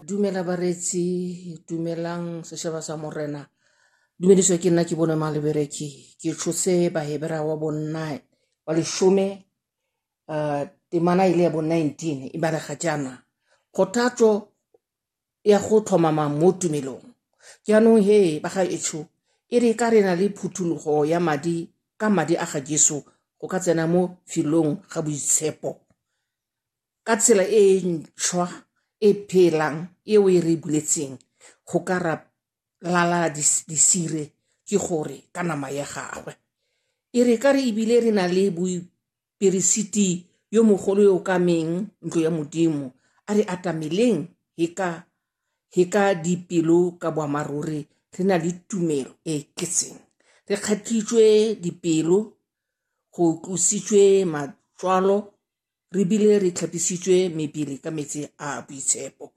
Dumela bareetsi, dumelang sešaba sa Morena. Dumediso ke nna ke bone Malebereki. Ke tshotse Bahebera wa bonna wa leshome temana e le ya bo 19 e balega jaana. Kgothatso ya go tlhomama mo tumelong. Jaanong he ba ga etsho e re ka re na le phuthologo ya madi ka madi a ga Jesu go ka tsena mo felong ga boitshepo ka tsela e ntšhwa e phelang eo e re buletseng go ka ra lala disire ke gore ka nama ya gagwe. E re ka re ebile re na le boiperesiti yo mogolo yo o kameng ntlo ya Modimo, a re atameleng he ka dipelo ka boammaaruri re na le tumelo e e tletseng. Re kgatlhitswe dipelo, go tlositswe matswalo, re bile re tlhapisitswe mebele ka metsi a a boitshepo.